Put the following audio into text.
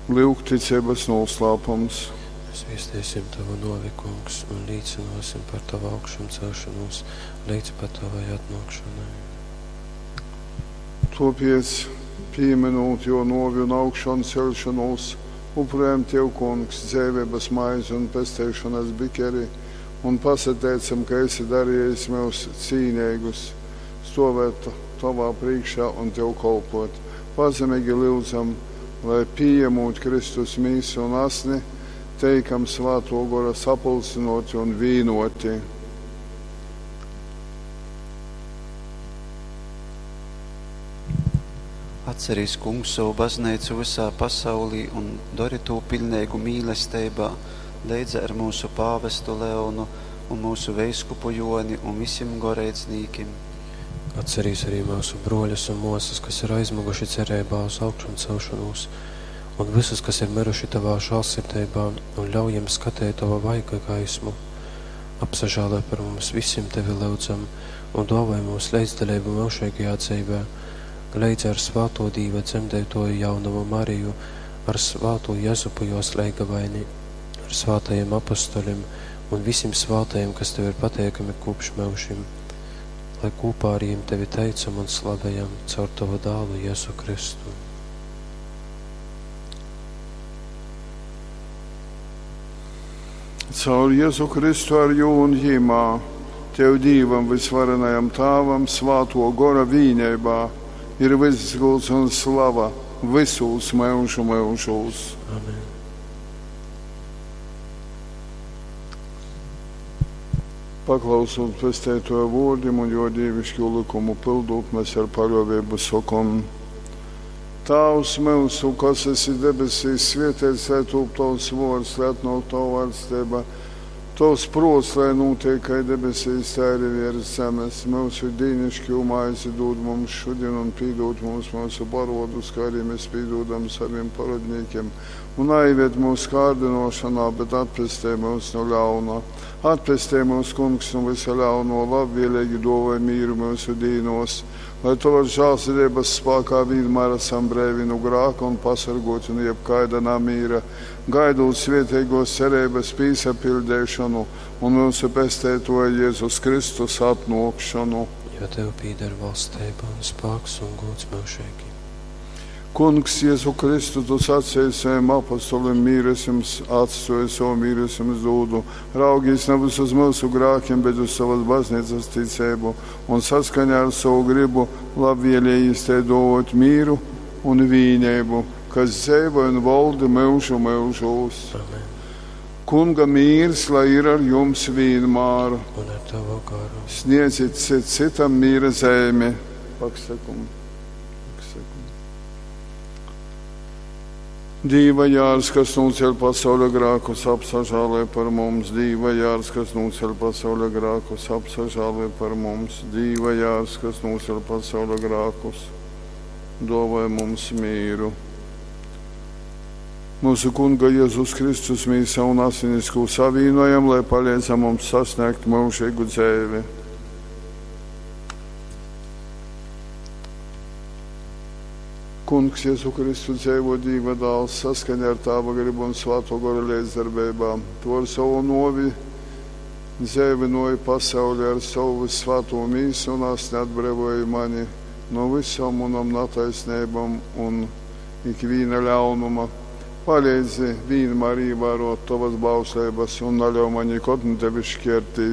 Lyugticeibas nūslāpums. Mēs viesteisim Tavu nōvi, Kungs, un līcynōsim par Tavu augšamcelšanos līdz pat Tavai atnōkšanai. Tōpēc, pīmynūt jō nōvi un augšanceļšonūs, upurējam Tev, Kungs, dzeiveibas maizi un pesteišonas bikeri un pasateicam, ka esi darejis myus cīneigus stōvēt Tovā prīškā un Tev kolpōt. Pazemeigi lyudzam, lai, pījemūt Kristus mīsu un asni, teikam Svātō Gora sapulcynōti un vīnōti. Atcerīs, Kungs, sovu bazneicu vysā pasaulī un dori tū piļneigu mīlesteibā leidza ar myusu pāvestu Leonu un myusu veiskupu Jōni un visim goreidznīkim. Atcerīs arī myusu brōļus un mōsas, kas ir aizmyguši cereibā uz augšamcelšonūs, un vysus, kas ir myruši Tovā žālsirdeibā, un ļauj jim skateit Tova vaiga gaismu. Apsažāloj par mums visim, Tevi lyudzam, un dōvoj mums leidzdaleibu myužeigajā dzeivē, leidza ar svātō Dīva dzemdeitōju jaunovu Mariju, ar svātū Jezupu jōs leigavaini, ar svātajim apostolim un visim svātajim, kas Tev ir pateikami kopš myužim, lai kopā ar jim Tevi teicam un slavējam caur Tavu dālu Jēzu Kristu. Caur Jēzu Kristu ar jū un jimā, Tev Dīvam vysvarenajam Tāvam svātō Gora vīneibā ir vyss gūds un slava vysūs myužu myužūs. Amen. Paklausūt Pesteitōja vōrdim un jō dīviškū lykumu pyldūt, mēs ar paļōveibu sokom: Tāvs myusu, kas esi debesīs, svētīts lai tūp tavs vōrds, lai atnōk tava vaļsteiba. Tovs prōts, lai nūtiek kai debesīs, tā arī virs zemes. Myusu dīnišķū maizi dūd mums šodien un pīdod mums mūsu parodus, kā arī mēs pīdodam saviem parodnīkiem. Un aizved mūs kārdinošanā, bet atpestē mūs no ļauna. Atpestē mūs, Kungs, no visa ļauno, labvēlīgi dāvāj mīru mūsu dīnos, lai Tavas žēlsirdības spēkā vienmēr esam brīvi no grāka un pasargoti no jebkaida namīra, gaidot svētīgos cerības pīsapildīšanu un mūsu pestētoja Jēzus Kristus atnākšanu. Jo Tev pīder valstība un spēks un gods mūžīgi. Kungs, Jēzu Kristu, tu sacīji saviem apostoliem, mīru es jums atstāju, savu mīru es jums dodu. Raugīs nevis uz mūsu grēkiem, bet uz savas baznīcas ticību un saskaņā ar savu gribu labvēlīgi te dot mīru un vīnību, kas dzīvo un valda mūžu mūžos. Amen. Kunga mīrs, lai ir ar jums vienmēr. Un ar Tavu garu. Sniedziet cit citam mīra zīmi. Paksakumu. Paksakumu. Dīva jārs, kas nūceļ pasauļa grēkus, apsažālē par mums. Dīva jārs, kas nūceļ pasauļa grēkus, apsažālē par mums. Dīva jārs, kas nūceļ pasauļa grēkus, dāvāj mums mīru. Mūsu Kunga Jēzus Kristus mīsa un asinis, ko savienojam, lai palīdzam mums sasniegt mūžīgu dzīvi. Kungs Jēzu Kristu dzīvo Dieva dēls saskaņā ar Tāva gribu un Svēto Gora līdzdarbībā. To ar savu novi dzēvinoja pasauli ar savu svēto mīsu un asni atbrīvoja mani no visām manām netaisnībām un ikviena ļaunuma. Palīdzi vienmēr ievērot tavas bauslības un neļauj man nekad no tevis šķirties.